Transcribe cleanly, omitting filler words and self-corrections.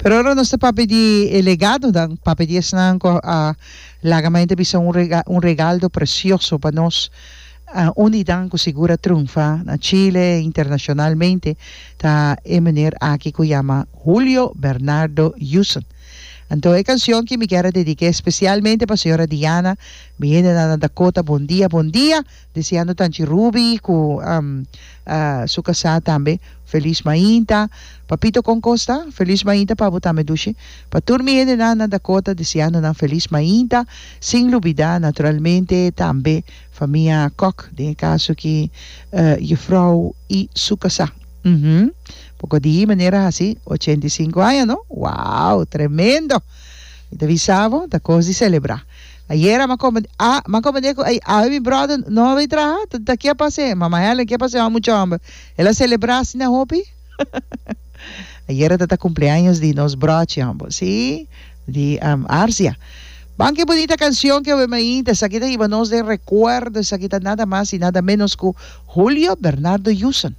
Pero ora nos ta papia di e legadonan, papia di esnan ku a laga mente bisa un un regaldo precioso pa nos, un di nan ku sigur a triunfa na Chile internacionalmente ta e meneer aki ku yama Julio Bernardo Yuson. Anto e cancion ki mi kier a dedique especialmente pa señora Diana, mi hendenan na Dakota, bon dia, bon dia. Deseando Tanchi Ruby cu su casá tambe felis mainta. Papito con cos ta? Felis mainta pa bo tambe dushi. Pa tur mi hendenan na Dakota deseando nan felis mainta sin lubida naturalmente tambe famia Kok den e caso aki juffrouw y su casá. Uhmm poco di manera haci 85 aña no? Wow tremendo! Mi ta bisa bo ta cos di celebra. Ayera m'a komprendé, ah, m'a komprendé ku ay, awe mi bròder no a bai traha, ta, ta ke a pas'é? Mama Helen, ke a pas'é? Mucha hòmber, el a selebrá asina hopi? Ayera ta ta kumpleaños di nos bròchi hòmber, sí, di Arcia. Ban ke bunita kanshon ke awe mainta, esaki ta hiba nos den rekuerdo, esaki ta nada mas i nada ménos ku Julio Bernardo Yuson.